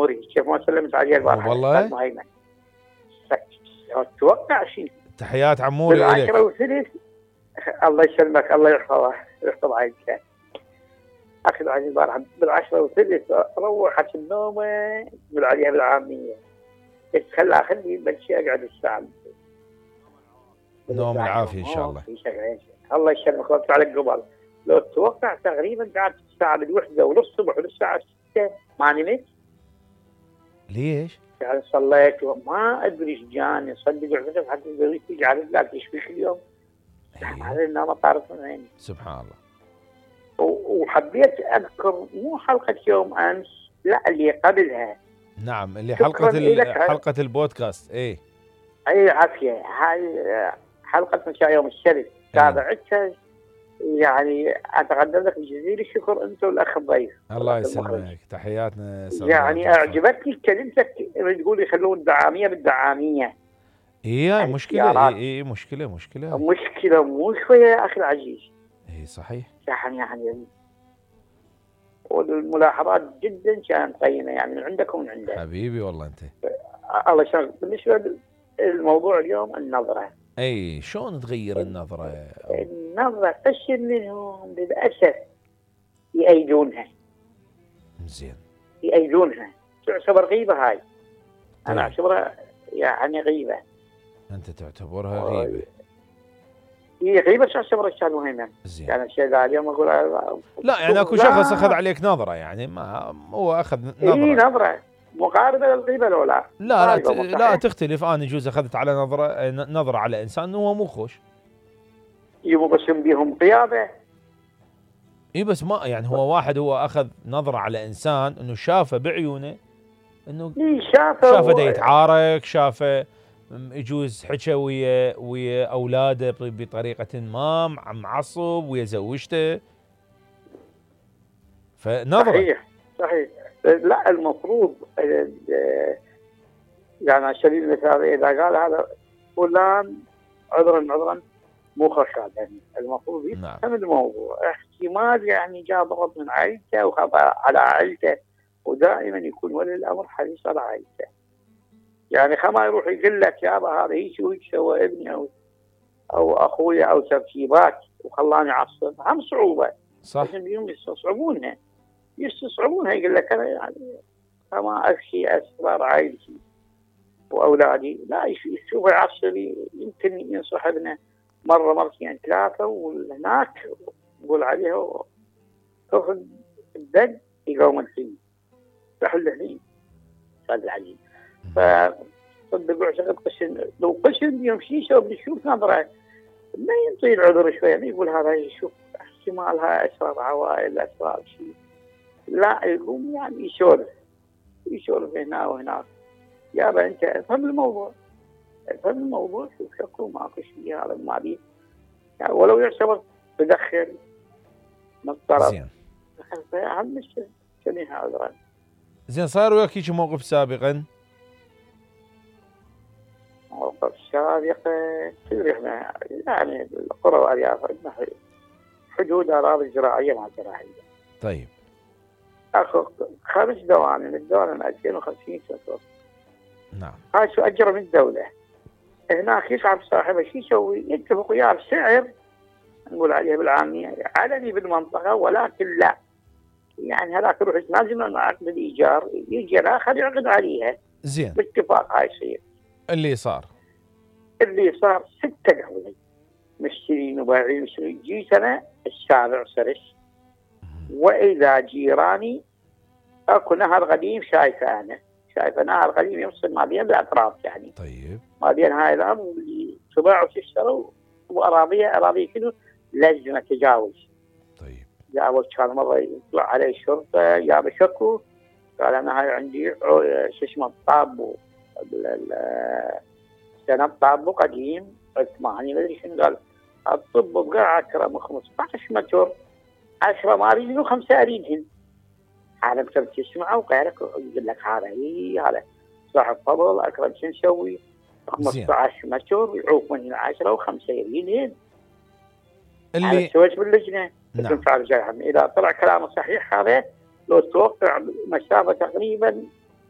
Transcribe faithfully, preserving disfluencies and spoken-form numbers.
عموري كيف ما سلمت عليه البارحه والله اتوقع شيء. تحيات عموري لك. بالعشرة وثلث الله يسلمك الله يحفظه ويحفظ عائلته. اخذ علي البارحه بالعشرة وثلث روحت النوم قبل عليها بالعاميه. قلت خلها خلي بلشي اقعد الساعه. نوم العافيه ان شاء الله. الله يسلمك ويرفع عليك قبل. لو تتوقع تقريبا قعدت الساعه بالوحده وللصبح وللساعه ستة ما نمت. ليش؟ يعني صليت وما ادري ايش جاني صدق عقدت حتى زوجتي قالت لك ايش فيك اليوم؟ هذا النوم طارت من عيني. سبحان الله. وحبيت اذكر مو حلقه يوم امس لا اللي قبلها. نعم اللي حلقه حلقه البودكاست. ايه اي عافيه. هاي حلقه مساء يوم السبت تابعتها. يعني اتقدم لك بجزيل الشكر انت والاخ الضيف. الله يسلمك تحياتنا. يعني اعجبتني كلمتك تقول يخلون دعاميه بالدعاميه. ايه مشكله. ايه ايه مشكله مشكله مشكله مو شويه يا اخي العزيز. ايه صحيح. يعني يعني والملاحظات جدا كانت قيمه يعني من عندك ومن عندك. حبيبي والله انت. الله يسلمك. بالنسبه للموضوع اليوم النظره. اي شلون تغير النظره؟ النظره قشر منهم للاسف يأيدونها. زين. يأيدونها تعتبر غيبه هاي. انا اعتبرها يعني غيبه. انت تعتبرها غيبه؟ هي غيبه تعتبر اشياء مهمه. زين. يعني الشيء ذا اليوم اقول لا يعني اكو شخص اخذ عليك نظره يعني ما هو اخذ نظره. اي نظره مقاربه للغيبه لو لا. لا لا, لا تختلف. انا يجوز اخذت على نظره نظره على انسان هو مو خوش. يبصم بهم قياده. اي بس ما يعني هو واحد هو اخذ نظره على انسان انه شافه بعيونه انه شافه شافه دا يتعارك شافه يجوز حكى ويا ويا اولاده بطريقه ما معصب ويا زوجته فنظره. صحيح صحيح. لا المفروض يعني على سبيل المثال اذا قال هذا فلان عذرا عذرا مو خشاب يعني المفروض يفهم. نعم. الموضوع احتمال يعني جاء ضغط من عائلته وخاف على عائلته ودائما يكون ولي الامر حريص على عائلته. يعني خما يروح يقول لك يابا هذا هيك وهيك سوى ابني او او اخويا او ترتيبات وخلاني اعصب هم صعوبه. صح. يستصعبونها يستصعبونها يقول لك انا يعني خما افشي اسرار عائلتي واولادي لا يشوف يعصب يمكن ينصح ابنه مره مرتين ثلاثه وهناك يقول عليها تاخذ الدق يقوم الحين تحل الحين صار العجيب. فصدقوا اعتقد قشن لو قشن يمشي يسوي بنشوف نظره ما ينطي العذر شويه ما يقول هذا يشوف احتمالها اسرار عوائل اسرار شيء لا يقوم يعني يسولف يسولف هنا وهناك. يابا انت افهم الموضوع افهم الموضوع شوف شكو ماكو شيء هذا ما بيه يعني ولو يعتبر تدخل من الطرف. زين. اهم شيء شنو عذرا. زين صار وياك هيك موقف سابقا؟ موقف سابقا كثير احنا يعني القرى والارياف عندنا حدود اراضي زراعيه مع زراعيه. طيب. اخو خمس دوام من الدوله ألفين وخمسين سنه. نعم. هاي شو اجره من الدوله. هناك يصعب صاحبه شو يسوي؟ يتفق وياه بسعر نقول عليه بالعاميه علني بالمنطقه ولكن لا يعني هذاك يروح يتنازل من عقد الايجار يجي الاخر يعقد عليها. زين. باتفاق هاي يصير. اللي صار اللي صار ستة قبلي مشترين وبايعين مشترين جيت انا السابع سرس واذا جيراني اكو نهر قديم شايفه انا شايفه نهر قديم يفصل ما بين الاطراف يعني. طيب. ما بين هاي الارض اللي تباع وتشتروا واراضيها اراضي كله لازم تجاوز. طيب. جاوز كان مره يطلع عليه الشرطه جاب شكو قال انا هاي عندي شو اسمه الطابو سنه طابو قديم ثمانية ما ادري شنو قال الطب بقى عشرة خمسة عشر متر عشرة ما اريد خمسه اريدهن. عالم تسمعه وغيرك يقول لك هذا هي هذا صاحب فضل اكرم شو نسوي خمسة عشر متر يعوق من هنا عشرة وخمسه يريدهن. اللي سويت باللجنه. نعم. اذا طلع كلامه صحيح هذا لو توقع مسافه تقريبا